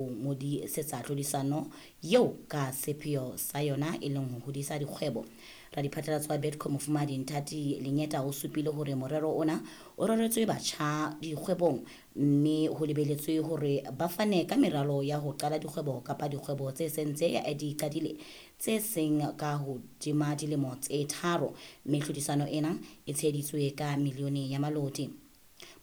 Ngodisetsa tlhodisano eo ka sepheo sa yona e leng ho hodisa dikgwebo. Radiphatlalatso wa Betco Mofumahadi Nthati Lenyeta o supile hore morero ona o reretswe batjha dikgwebong mme ho lebeletswe hore ba fane ka meralo ya ho qala dikgwebo kapa dikgwebo tse sentse di qadile tse seng ka hodima dilemo tse 3, mme tlhodisano ena e tsheheditswe ka milione ya maloti.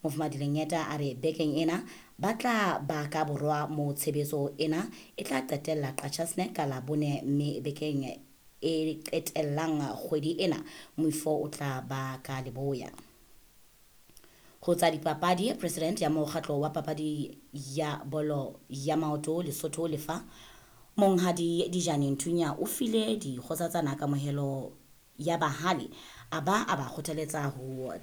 Mofumahadi Lenyeta a re bekeng ena ba tla ba ka borwa mo tshebetso ena e tla qetella Qacha's Nek ka Labone, mme bekeng e qetellang kgwedi ena moifo o tla ba ka Leboya. Ho tsa dipapadi, president ya mokgatlo wa papadi ya bolo ya maoto Lesotho Lefa, Monghadi Dijane Nthunya o file dikgosatsana kamohelo ya bahale, a ba kgothaletsa ho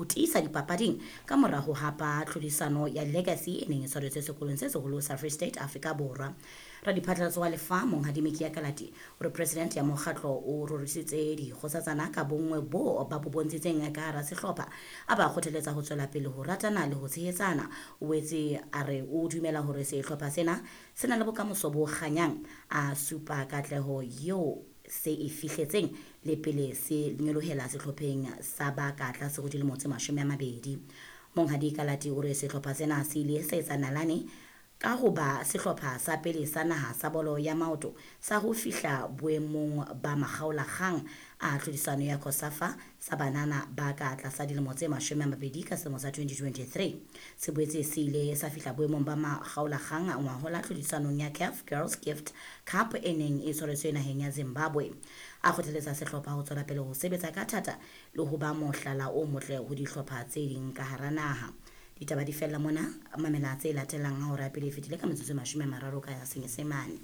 tiisa dipapading ka mora ho hapa tlhodisano ya Legacy e neng e tshwaretswe sekolong se seholo sa Free State Afrika Borwa. Radiphatlalatso wa Lefa Monghadi Mekia Kalati o re president ya mokgatlo o rorisitse dikgosatsana ka bonngwe bo ba bo bontshitseng ka hara sehlopha, a ba kgothaletsa ho tswela pele ho ratana le ho tshehetsana. O boetse a re o dumela hore sehlopha sena se na le bokamoso bo kganyang, a supa katleho eo se e fihletseng le pele se nyolohela sehlopheng sa ba ka tlase ho dilemo tse 20. Monghadi Kalati o re sehlopha sena se ile sa etsa nalane ka ho ba sehlopha sa pele sa naha sa bolo ya maoto sa ho fihla boemong ba makgaolakgang a tlhodisano ya COSAFA sa banana ba ka tlasa dilemo tse 20 ka selemo sa 2023. Se boetse se ile sa fihla boemong ba makgaolakgang ngwahola tlhodisanong ya CAF Girls Gift Cup e neng e tshwaretswe naheng ya Zimbabwe. A kgothaletsa sehlopha ho tswela pele ho sebetsa ka thata le ho ba mohlala o motle ho dihlopha tse ding ka hara naha. Ditaba di fella mona, mamela tse latelang ha hora pele e fetile ka metsotso 30 ka Senyesemane.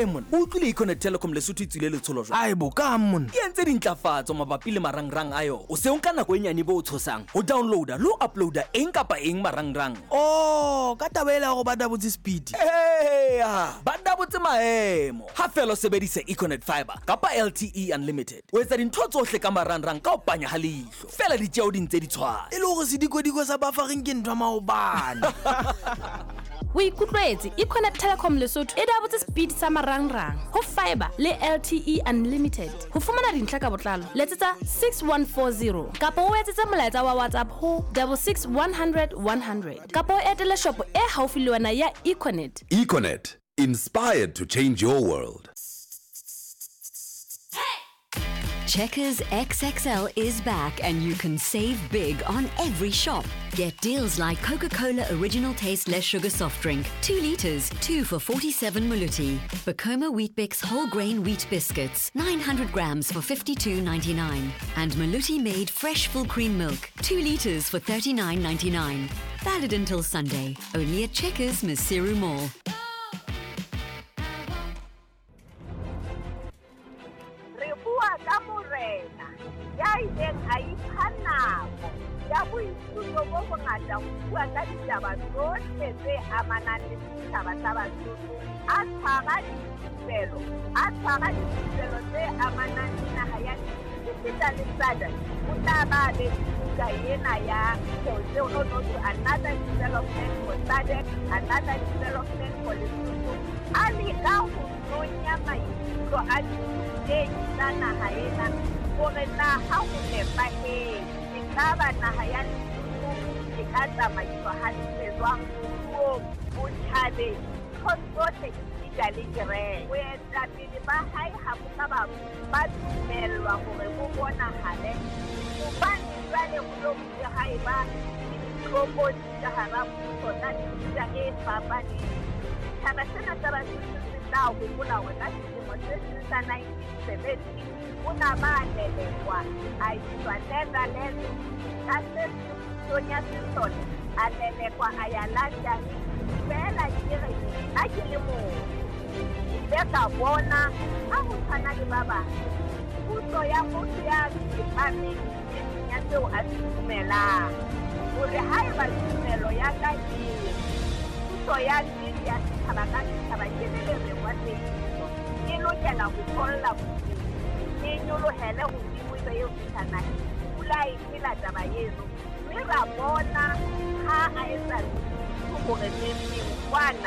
Mon, o utlwile Econet Telecom Lesotho e tswile letsholo jwang? Ae bo ka mon. E entse dintlafatso mabapi le marangrang a yona. O se o nka nako e nyane bo o tshosang ho downloada le ho uploada eng kapa eng marangrang. Oh, ka taba ela hore ba dabotse speed. Eya, ba dabotse maemo. Ha fela o sebedisa Econet Fiber kapa LTE Unlimited. O etsa dintho tsohle ka marangrang ka ho panya ha leihlo. Fela ditjeo di ntse di tshwana. E le hore sedikodiko sa buffering ke ntho ya maobane. O ikutlwetse, Econet Telecom Lesotho e dabotse speed sa marangrang ho fiber le LTE Unlimited. Ho fumana dintlha ka botlalo, letsetsa 6140 kapa o etsetse molaetsa wa WhatsApp ho 66 100 100 kapa o etele shopo e haufi le wena ya Econet. Econet, inspired to change your world. Checkers XXL is back and you can save big on every shop. Get deals like Coca-Cola Original Taste Less Sugar Soft Drink, 2 liters, 2 for 47 Maluti. Bacoma Weet-Bix Whole Grain Wheat Biscuits, 900 grams for 52.99. And Maluti Made Fresh Full Cream Milk, 2 liters for 39.99. Valid until Sunday, only at Checkers Maseru Mall. Re bua ka morena ya ileng a ipha nako ya boithuto bo bongata ho bua ka ditaba tsohle tse amanang le setjhaba sa Basotho, a tshwara dithupelo tse amanang le naha ya esita le SADC. O tla ba be buka ena ya no another development for SADC, another development for Lesotho. A leka ho nonya maikutlo a dithutehi tsa naha ena hore na ha ho nepahetse ekaba naha ya Lesotho e ka tsamaiswa hantle jwang moruong, botjhabeng, nthong tsohle esita le kereke. Boetapele ba hae ha bo ka ba dumellwa hore bo bonahale hobane jwale ho lo bile ha eba le ditlokotsi ka hara puso tsa mefuta e fapaneng. Setjhaba sena sa Basotho se tla hopola hore ka selemo se seng sa 1970 o na ba lelekwa a iswa Netherlands, ka se pusong ya sesole a lelekwa a ya London. Feela ke re nna ke le motho, ke ile ka bona ha ho tshwana le ba bang puso ya motho ya tsepameng e seng ya seo a se dumelang, hore haeba tumelo ya ka e puso ya nnete ya setjhaba ka setjhaba ke le lereng wa tsebiso, e lokela ho tholla bodimo, e nyolohele hodimo ebe eo fihla naheng. Pula e phela taba eno, mme ra bona ha a etsa hore metseng kwana